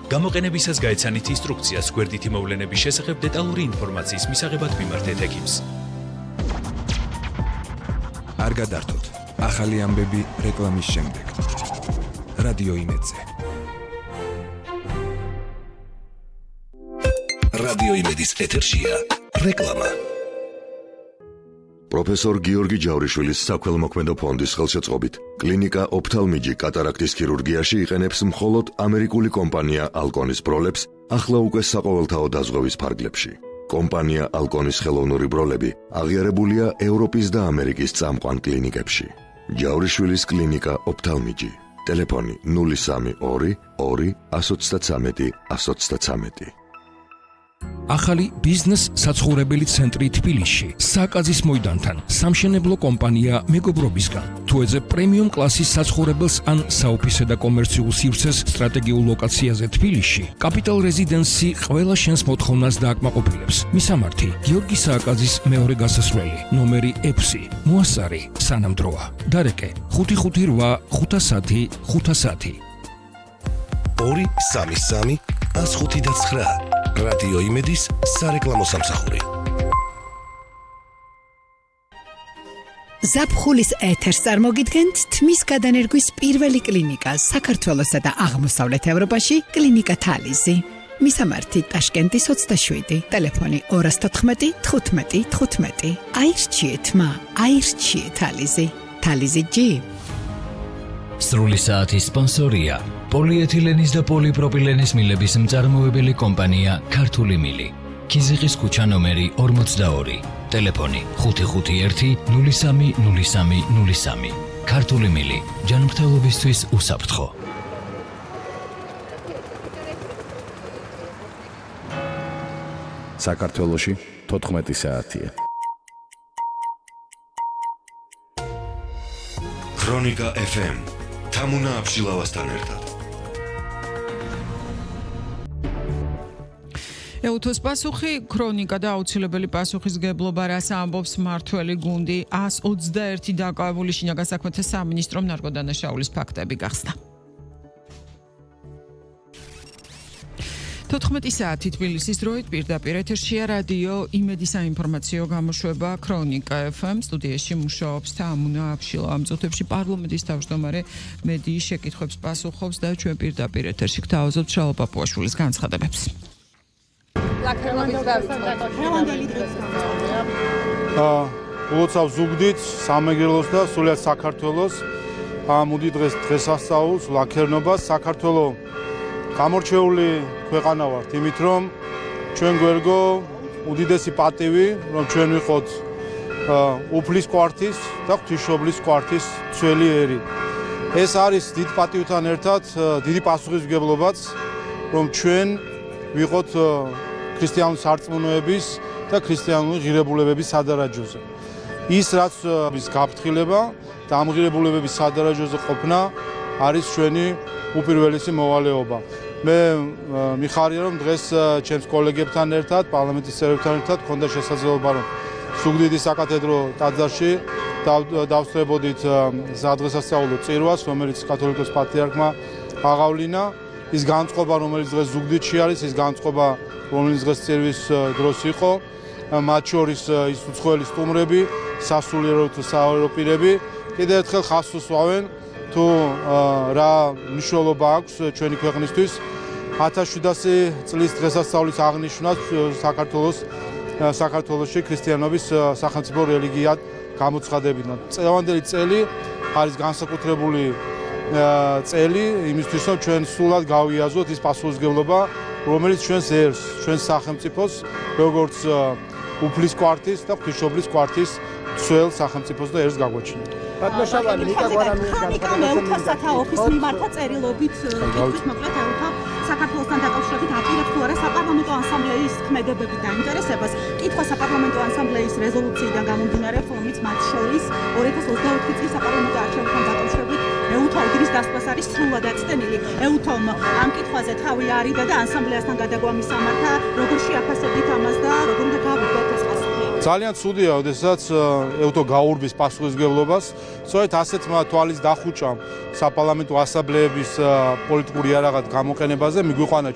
გამოყენებისას გაეცანით ინსტრუქციას გვერდითი მოვლენების შესახებ დეტალური ინფორმაციის მისაღებად მიმართეთ ექიმს. არ გადართოთ. ახალი ამბები რეკლამის შემდეგ. რადიო იმედზე. რადიო იმედის ეთერშია რეკლამა. პროფესორ გიორგი ჯავრიშვილის საქველმოქმედო ფონდის ხელშეწყობით კლინიკა ოფთალმიჯი კატარაქტის ქირურგიაში იყენებს მხოლოდ ამერიკული კომპანია ალკონის ბროლებს ახლა უკვე საყოველთაო დაზღვევის ფარგლებში. კომპანია ალკონის ხელოვნური ბროლები აღიარებულია ევროპის და ამერიკის წამყვან კლინიკებში. ჯავრიშვილის კლინიკა ოფთალმიჯი. ტელეფონი 032 2 133 133. ახალი ბიზნეს საცხოვრებელი ცენტრი თბილისში, საკაზის მოედანთან, სამშენებლო კომპანია მეგობრობისგან. თუ ეძებ პრემიუმ კლასის საცხოვრებელს ან საოფისე და კომერციულ სივრცეს სტრატეგიულ ლოკაციაზე თბილისში, კაპიტალ რეზიდენსი ყველა შენს მოთხოვნას დააკმაყოფილებს. მისამართი: გიორგი სააკაძის მეორე გასასვლელი, ნომერი 6, მოასწარი, სანამდროა. დარეკე: 558 510 510. 233 159. რადიო იმედის სარეკლამო სამსახური. ზაფხულის ეთერს წარმოგიდგენთ თმის გადანერგვის პირველი კლინიკა საქართველოსა და აღმოსავლეთ ევროპაში, კლინიკა თალიზი. მისამართი: ტაშკენტის 27, ტელეფონი 214 15 15. აირჩიეთ მა, აირჩიეთ თალიზი. თალიზი G. სრული საათის სპონსორია პოლიეთილენის და პოლიპროპილენის მილების მწარმოებელი კომპანია ქართული მილი. ქიზიყის ქუჩა ნომერი 42, ტელეფონი 551 03 03 03. ქართული მილი, ჯანმრთელობისთვის უსაფრთხო. საქართველოში 14 საათია. ქრონიკა FM თამუნა აბშილავასთან ერთად. ეუთოს პასუხი, ქრონიკა და აუცილებელი პასუხისგებლობა, რას ამბობს მმართველი გუნდი. 121 დაკავებული შინაგან საქმეთა სამინისტრომ ნარკოდანაშაულის ფაქტები გახსნა. 14 საათი თბილისის დროით პირდაპირ ეთერშია რადიო იმედის საინფორმაციო გამოშვება ქრონიკა FM. სტუდიაში მუშაობს თამუნა აბშილავა. ამ წუთებში პარლამენტის თავმჯდომარე მედიის შეკითხვებს პასუხობს და ჩვენ პირდაპირ ეთერში გთავაზობთ შალო პაპუაშვილის განცხადებებს. ულოცავ ზუგდიდს, სამეგრელოს და სულიად საქართველოს ამ უდი დღესასწაულს, ლაქერნობას. საქართველოს გამორჩეული ქვეყანა ვართ იმით, რომ ჩვენ გვერგო უდიდესი პატივი, რომ ჩვენ ვიყოთ უფლის კვართის და ღვთისმშობლის კვართის ძველი ერი. ეს არის დიდ პატივთან ერთად დიდი პასუხისმგებლობაც, რომ ჩვენ ვიყოთ ქრისტიანული სარწმუნოების და ქრისტიანული ღირებულებების სადარაჯოზე. ის რაც ის გაფრთხილება და ამ ღირებულებების სადარაჯოზე ყოფნა არის ჩვენი უპირველესი მოვალეობა. მე მიხარია, რომ დღეს ჩემს კოლეგებთან ერთად, პარლამენტის წევრებთან ერთად მქონდა შესაძლებლობა, რომ ზუგდიდის საკათედრო ტაძარში დავსწრებოდით სადღესასწაულო წირვას, რომელიც კათოლიკოს პატრიარქმა აღავლინა. ის განწყობა, რომელიც დღეს ზუგდიდში არის, ის განწყობა, რომელიც დღეს წირვის დროს იყო, მათ შორის ის უცხოელი სტუმრები, სასულიერო თუ საერო პირები, კიდევ ერთხელ ხაზს უსვავენ თუ რა მნიშვნელობა აქვს ჩვენი ქვეყნისთვის 1700 წლის დღესასწაულის აღნიშვნას საქართველოში ქრისტიანობის სახელმწიფო რელიგიად გამოცხადებიდან. წლევანდელი წელი არის განსაკუთრებული წელი იმისთვის, რომ ჩვენ სულად გავიაზროთ ის პასუხისმგებლობა, რომელიც ჩვენს ერს, ჩვენს სახელმწიფოს, როგორც უფლის კვართის და ღვთისმშობლის კვართის ძველ სახელმწიფოს და ერს გაგვაჩინოთ. ბატონშავალი ნიკა გვარამიეს განცხადება სათავის მიმართა წერილობით კითხვის მოკლედ ეუთა საქართველოსთან დაკავშირებით აპირებს თუ არა საპარლამენტო ასამბლეის ქმედებები და ინტერესებას. კითხვა საპარლამენტო ასამბლეის რეზოლუციიდან გამომდინარე, რომელიც მათ შორის 2024 წლის საპარლამენტო არჩევნებთან დაკავშირებით ეუთა უდრის დასკვას არის სრულად აწტენილი. ეუთომ ამ კითხვაზე თავი არიდა და ასამბლეასთან გადაგვა მისამართა, როგორ შეაფასებთ ამას და როგორ უნდა გავიგოთ ეს პასუხი? ძალიან ცუდია, როდესაც ეუთო გაურბის პასუხისმგებლობას, სწორედ ასეთმა თვალის დახუჭამ საპარლამენტო ასამბლეების პოლიტიკური იარაღად გამოყენებაზე მიგვიყვანა